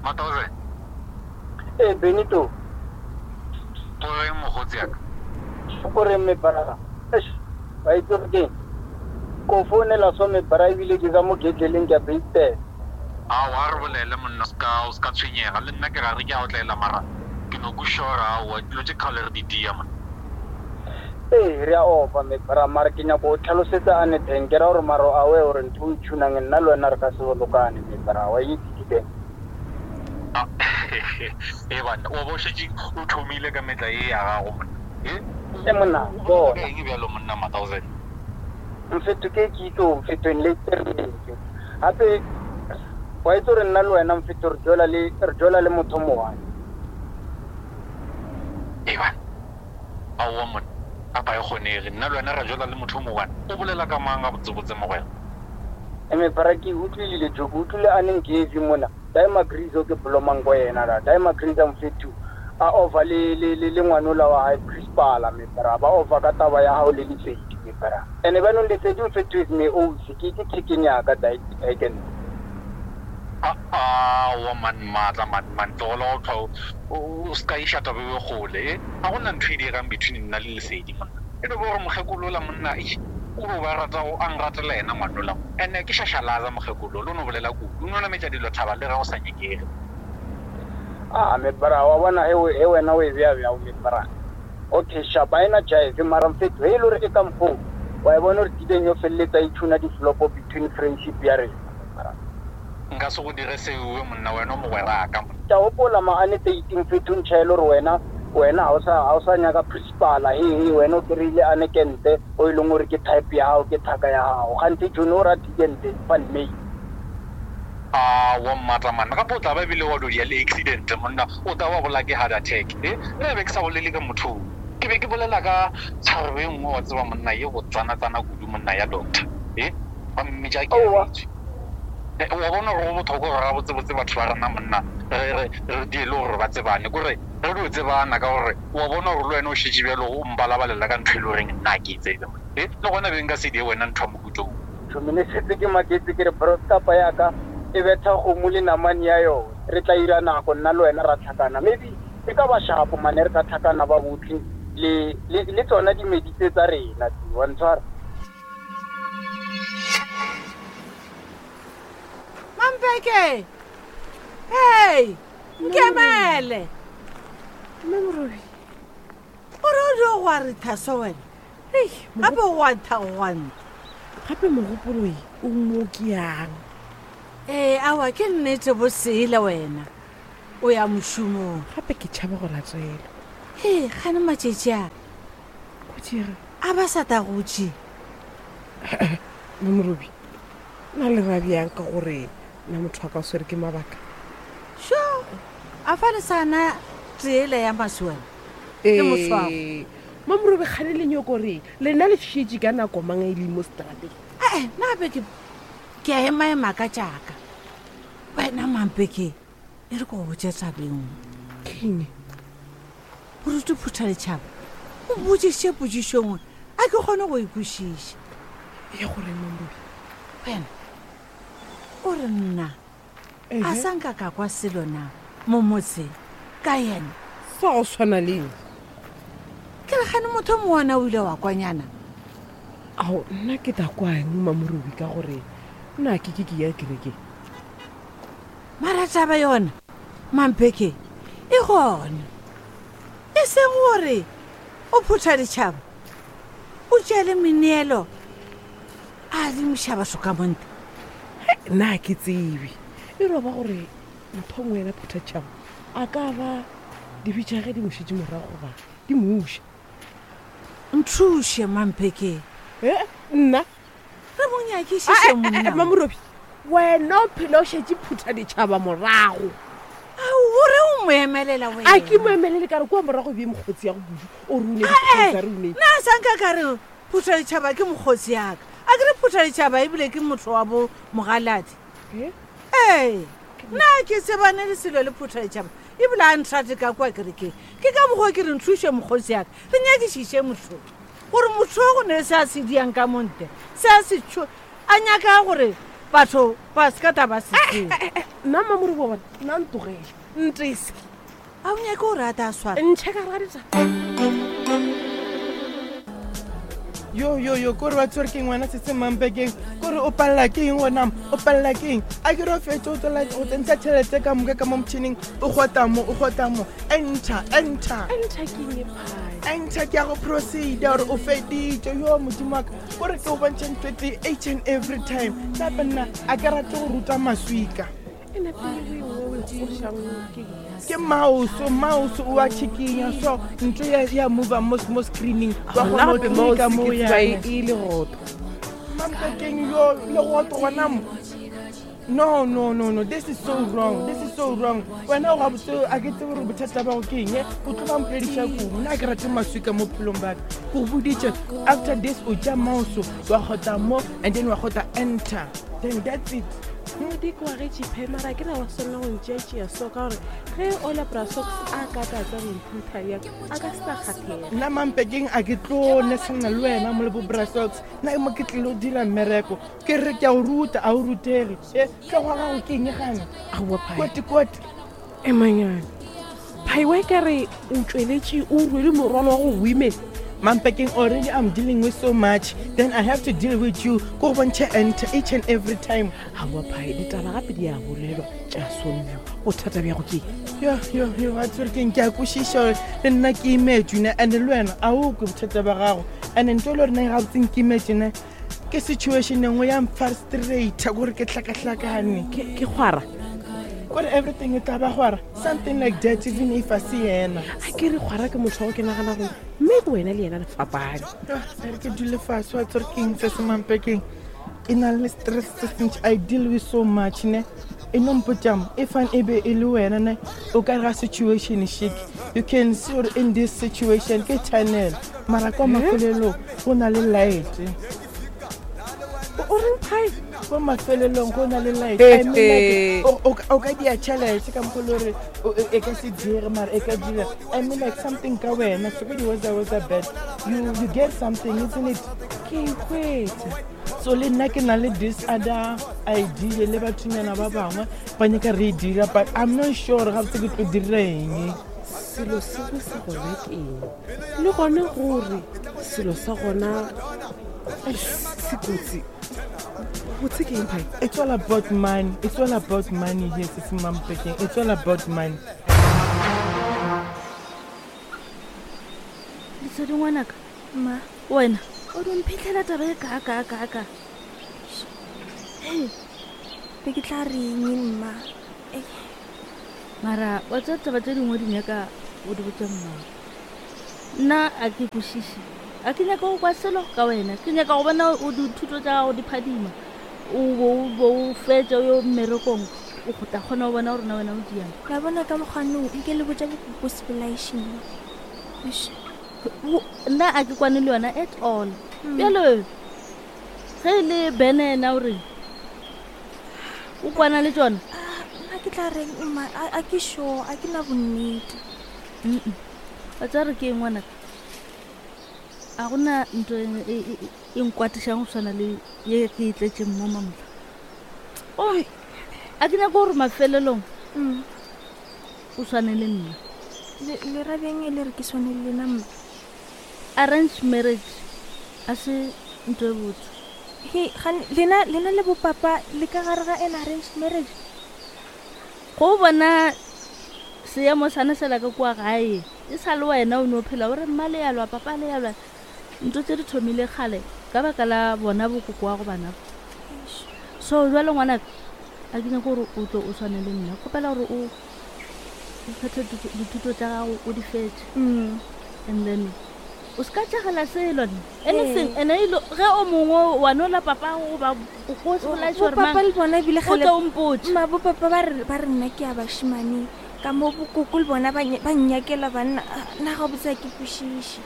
Matauze. Ee, Benito. O reng mokgotsi ya ka? O reng mebara? Eish, wa itse gore keng? Ko founela so mebara ebile ke ka mo gedleleng ke a beitela. Aowa, a re bolele monna, o ska, o ska tshwenyega. Le nna ke gare ke a otlela mara ke no kwešiša gore aowa, dilo tše kgale re di dia monna. Ee, re a opa mebara mara ke nyako o tlhalosetsa ane teng ke ra gore mara o aware gore ntho o e tšhunang nna le wena re ka se bolokane mebara wa itse ke teng. Ah, e banna, wa bo šetše o thomile ka metla ye ya gago monna. E? E monna, O bona. ka eng bjalo monna Matauzen? Mfetho ke ke itse o mfetho le tsere. Gape wa itse gore nna le wena mfetho re jola le re jola le motho mo one. E banna. Aowa monna, gape ga e kgonege. Nna le wena ra jola le motho o mo one. O bolela ka mang gabotsebotse mogwera? Eme para ke utlwilile jo ke utlwile a neng ke mona. Daima Grizo ke blomang ko yena la. Daima Grizo mfethu a over le le le le ngwanola wa hae Chris Pala me bra ba over ka taba ya hao le Lesedi me bra. Ene banong Lesedi mfethu is me ausi ke ke chicken ya ka Daiken. Aowa man maatla man man tlogela go hlwa o ska iša taba eo kgole e ga gona ntho e diegang between nna le Lesedi monna e no ba gore mokgekolo ola monna eish o no ba rata a nratela yena ngwanola Ene ke šašalaza mokgekolo, lo no bolela kudu. O no nametša dilo thaba le ge go sa nyakege. Ah, me bra, wa bona he, he wena o e bea bjao, me bra. Okay, sharp, a ena jive, mara mfetho, he e le gore e ka mokgoo, wa e bona gore tibeng yo feleletsa e tšhuna di-flopo between friendship ya rena, me bra. Nka se go dire seo, monna, wena o mogweraka, monna. Ke a gopola ma ane 13 mfetho ntšha e le gore wena, wena ga o sa, ga o sa nyaka principala, he, he, wena o kry-ile ane kente. o e leng gore ke type ya gago, ke thaka ya gago. Kganthe Johnny o ra Dikente van May. Aowa mmatla man, gape o tla ba ebile wa dodia le accident monna, o tla wa bolaya ke heart attack. He, nna be ke sa bolele ka motho o, ke be ke bolela ka tharebe e nngwe wa tseba monna ye go tsana-tsana kudu monna ya doctor. He, ba mmitša Aowa. Keabetswe. Wa bona gore go bothokwa gore gabotsebotse batho ba rena monna re, re, re die le gore ba tsebane, kore re dio tsebana ka gore Wa bona gore le wena o šetše bjalo o mpalabalela ka ntho e le goreng nna ga ke e tsebe monna. He, le gona be nka se die wena ntho ya mohuta wo. Tšhomi, ne setse ke maketse ke re broskapa ya ka e betha kgomo le namane ya yona. Re tla ira nako nna le wena ra tlhakana. Maybe e ka ba shapo mane re ka tlhakana ba bohle le, le, le tsona dimedi tse tsa rena tse. Wa ntshwara? Mampeke! Hey! Nkemele! Mme Morobi. Gore o dio go a re thaso wena. Ei, Gape o gwantha go gwantha. Gape mogopolo e o mo ke yang. Ee, awa ke nnete bosele wena. O ya mošomong. Gape ke tšhaba go latela. Ee, gane matšatši a. Go dira. A ba sa ta go tše. Mme Morobi, na le ra bjang ka gore na motho wa ka o swere ke mabaka? Sho, a fa le sa na tsela ya maswela le moswago. Ee, Mamorobe kgane le nyoko re lena le šetše ka nako mang e le mo strateng? Ee, nna gape ke ke a emaema ka tšaka. Wena Mampeke, e re ko go botše taba e nngwe. Keng? Moruti Phuthaletšhaba o botšišitše potšišo nngwe a ke kgone go e kwešiša. Ya gore Mamorobe? Wena o re nna a sa nka ka kwa selo na mo motseng ka yena? Sa go swana le eng? Ke re gane motho mongwe ona o ile wa kwanyana. Ao, nna ke tla kwa eng Mamorobe ka gore nna ke ke ke ya kerekeng. Mara taba yona Mampeke e gona. E seng gore o phutha ditšhaba o tšea le meneelo a adimiša batho ka monte. He, nna ke tsebe. E roba gore motho ngwe yena phuthatšhaba a ka ba dibe tša ge di mo šetše morago goba di mo uša. Nthuše, Mampeke. He, nna? Re mo nyakišiše monna. Mamorobi, wena o phela o šetše phutha ditšhaba morago. Ao, o re o mo emelela wena. A ke mo emelele ka re kua morago bje mokgotsi ya go kudu o re o ne dikgotsa re o ne. Nna sa nka ka re phutha ditšhaba ke mokgotsi yaka. A ke re phutha ditšhaba ebile ke motho wa bo mogaladi. Ee, nna ke tsebane le selo le phutha ditšhaba ebile a nthate ka kua kerekeng. Ke ka mokgwa ke re nthuše mokgotsi yaka re nyakišiše motho. Gore motho o go ne se a se diang ka monte, se a se tšho, a nyaka gore batho ba se ka ta ba se tseba. Nna Mmamoribo wa bona, nna ntogele, ntese. A o nyake gore a ta swara? Ntšhe ka gare ga ditaba. Yo yo yo, kore wa tshwere ke ngwana se se mampekeng, kore o palela ke eng gona, o palela ke eng? A ke re o fetse o tswela go tsentšha tšhelete ka moka ka mo motšhining, o kgota mo, o kgota mo, enter, enter. Enter ke eng e phai? Enter ke ya go proceda gore o feditše. Yo modimo wa ka, kore ke o bontšha ntho e tee each and every time. Gape nna a ke rate go ruta maswika. Ke mouse, mouse o a tšhikinya so ntho ya ya move mo mo screening wa kgona go tlika mo ya e le goto. Mampekeng yo le goto gona mo. No, no, no, no, this is so wrong, this is so wrong. Wena o gabotse a ke tsebe gore bothata ba go ke eng, o tlo ba mpolediša kudu. Nna ke rate maswika mo phelong ba ka. Ko boditše, after this o tša mouse wa kgotha mo and then wa kgotha enter. Then that's it. Modiko wa ge tšiphe mara ke ra wa swanela go ntšeatšea so ka gore ge ola bra socks a ka ka tsa go mphutha bjang a ka se sa kgathega. Nna mampekeng a ke tlo nesana le wena mo le bo bra socks. Nna mo ke tlilo dira mmereko. Ke re ke a o ruta a o rutege. E tlo go gago ke eng gana? Aowa Phai. Koti koti. Emanyane. Phai wa ka re o tšweletše o rwele morwalo wa go women. Mampekeng already I'm dealing with so much, then I have to deal with you. Ko go bontšhe enter each and every time. Aowa Phai, ditaba gape di a bolelwa tša solviwa. Bothata bja go ke Yo, yo, yo, wa tsere keng ke a kwešiša gore le nna ke imetswe ne, and le wena a o kwe bothata ba gago. And ntho e le gore nna gabotse nkimetse ne, ke situation e nngwe ya mfrustrata gore ke hlakahlakane. Ke kgwara. Kore everything e tla ba kgwara, something like that, even if a se yena. A ke re kgwara ke motho wa go ke nagana gore mme ke wena le yena le fapane. Ah, a re ke dule fase wa tsere keng se se mampekeng. E na le stress se sentši, I deal with so much ne. E no mpotšang, e fane e be e le wena ne, o ka re ga situation shik. You can see gore in this situation ke channel, mara kwa mafelelong go na le light. O reng Phai? Kwa mafelelong go na le light. I mean, like, o ka dia tšhelete ka mokgwa le gore e ka se dire, mara e ka dira. I mean, like something ka wena, so di was was a bad. You get something, isn't it? Ke e hwetša. So le nna ke na le this other idea le bathonyana ba bangwe ba nyaka re e dira, but I'm not sure gabotse ke tlo dira eng. Selo sengwe sa gona ke eng? Le gona gore selo sa gona se kotsi. Botse ke eng Phai? It's all about money. It's all about money here, Sisi Mampekeng. It's all about money. Lesedi ngwanaka. Ma. Wena o di mphitlhela taba e ka ka ka ka. Hey. Be ke tla reng mma? Ei. Mara wa tsa taba tse dingwe di nyaka o di botse mma. Nna a ke kwešiše. A ke nyaka go kwa selo ka wena. Ke nyaka go bona o dithuto tša gago di phadima. O bo o bo o fetša o yo mmerekong. O go tla kgona go bona gore na wena o diang. La bona ka mokgwa no nke le botša bokoko sebolaešing. Eish. Nna a ke kwane le yona at all. Bjalo ge e le Bene yena o reng? O kwana le tšona? Ah, nna ke tla reng mma, a ke sure, a ke na bonnete. Mm-mm. Wa tseba re ke eng ngwanaka? A gona ntho e nkwatišang go swana le ye ke e tletšeng mo mamla. Oi, a ke nyako gore mafelelong o swane le nna. Le ra bjang e le re ke swane le lena mma? Arranged marriage a se ntho e botse. He, gane, lena, lena le bopapa le ka gare ga an arranged marriage? Go bona seemo sana sela ka kua gae, e sa le wena o no phela o re mma le ya lwa, papa le ya lwa. Ntho tse di thomile kgale ka baka la bona bokoko wa go bana. So jwale ngwanaka, a ke nyake gore o tlo o tshwane le nna. Kgopela gore o phethe dithuto tša gago o di fetše. And then o se ka tšagela selo nna. Anything, and e lo, ge o mongwe wa nola papa goba o ko se bolaiše gore Bopapa mang, le bona ebile o kgale tlo o mpotše. Mma, bopapa ba re, ba re nna ke ya bašemane. Ka mo bokoko le bona ba nnyakela banna. Ah, nna ga botse ha ke kwešiše.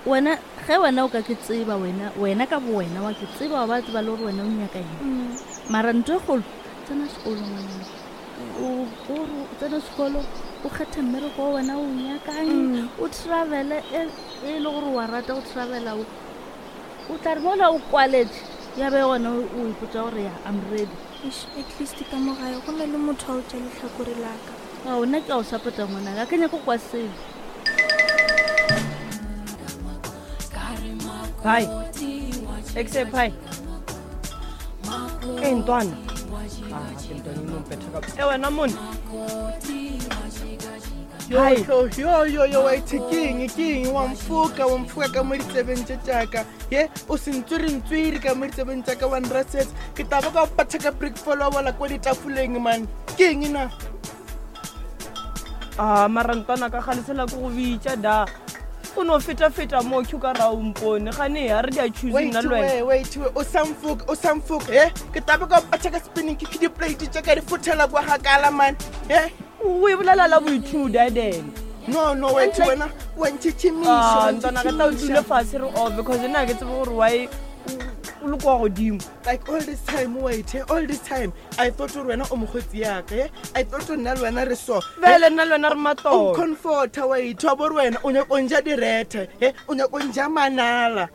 Wena, ge wena o ka ke tseba, wena, wena ka bo wena wa ke tseba, wa ba tseba le gore wena o nyaka eng. Mara ntho e kgolo, tsena sekolo ngwanaka. O, o re o tsene sekolo, o kgethe mmereko o wena o nyakang, o travele e le gore wa rata go travela, o tla re mola o kwaletše, ya be gona o ipotša gore ya, I'm ready. Eish, at least ka mo gae go na le motho a o tša lehlakore la ka. Ao, nna ke a o support-a ngwanaka, ga ke nyake go kwa selo. Bye. Exe bye. E ntwana. Ah, ke ntwana ino mpetha ka. E wena mone. Hi. Yo, yo, yo, yo, wait, ke eng, ke eng, wa mfoka, wa mfoka ka mo ditsebeng tše tšaka. Ye, o se ntswiri-ntswiri ka mo ditsebeng tšaka wa nrasetsa. Ke tla ba ka o patha ka brick fall wa wela kwa ditafoleng, man. Ke eng na? A mara ntwana ka gale sela ke go bitša da. O no feta-feta mo ke ka ra o mpone. Gane ha re di a choose nna le wena. Wait, wait, o sa mfoka, o sa mfoka. Ye, ke tla ba ka o patha ka spinning kick di-plate tša ka di fothela kwa gakala, man. Ye. O e bolela la boithuda then. No, no, wait, wena wa ntšhitšhimiša, Ah, ntwana ka tla o dule fase re off because nna ke tsebe gore why o le kwa godimo. Like all this time, wait, all this time I thought gore wena o mokgotsi yaka, eh? I thought gore nna le wena re so. Bjale nna le wena re matolo. O comforta, wait, wa bo gore wena o nyaka o nja direthe, eh? O nyaka o nja manala.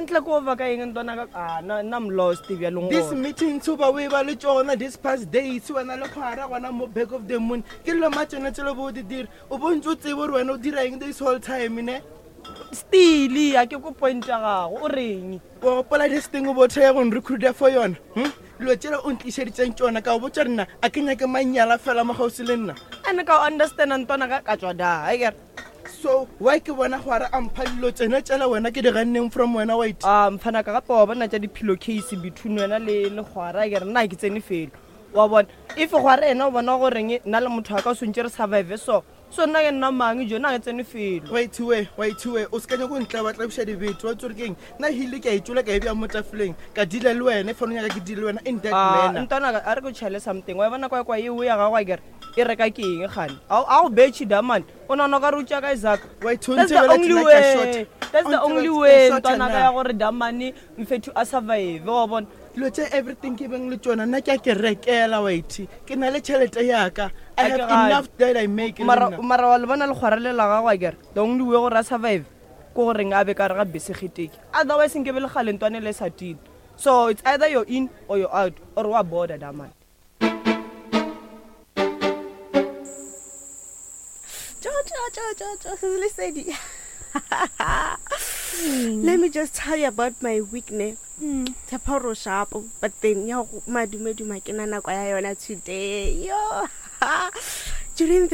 Ntle ko over ka eng ntwana ka ah na nna I'm lost bjalong This gona. meeting tso ba o e ba le tšona this past days wena le kgwara gona mo back of the moon ke dilo ma tsone tselo bo o di dira o bo ntse o tsebe gore wena o dira eng this whole time ne Stili a ke ko point ya gago o reng wa gopola this thing o bo thaya go nrecruiter for yona Dilo tšela o ntlišeditseng tšona ka o botša nna a ke nyake manyala fela mo gausi le nna ane ka o understand ntwana ka ka tswa da akere So why ke bona gwara a mpha dilo tsena tšela wena ke di ganneng from wena wait a mfana ka gape wa bona tša di-pillow case between wena le le gwara akere nna ke tsene felo wa bona if gwara ena o bona goreng nna le motho wa ka o swantse re survive so so nna ke nna mang jo nna ke tsene felo wait we wait we o se ka nyako ntla ba tlabiša dibete wa tsore keng nna hile ke a itšola ka e bja mo tafoleng ka deala le wena if o nyaka ke deal le wena in that Ah, manner ntwana a re ke tšhele something wa bona kwa kwa eo ya gago akere e reka ke eng gane a go betšhe damane o nagana ka re o tšea ka isaka Wait, o That's the ntebeletse only nna ke a way. short. That's O the only ntebeletse way ke a short ntwana ka na. ya gore damane mfethu a survive wa bona dilo tše everything ke beng le tsona nna ke a ke rekela wait ke na le tšhelete yaka i A ke have gane. enough that i make le mara nna. mara wa le bona lekgwara le la gago akere the only way gore a survive ke goreng a be ka re ga bese geteke otherwise nke be le gale ntwane le sa tile so it's either you're in or you're out or wa border damane Jo, jo, jo, jo, jo, Lesedi. Let me just tell you about my week ne. Tshepa gore o sharp, but then ya go madumeduma ke na nako ya yona today. Yo. During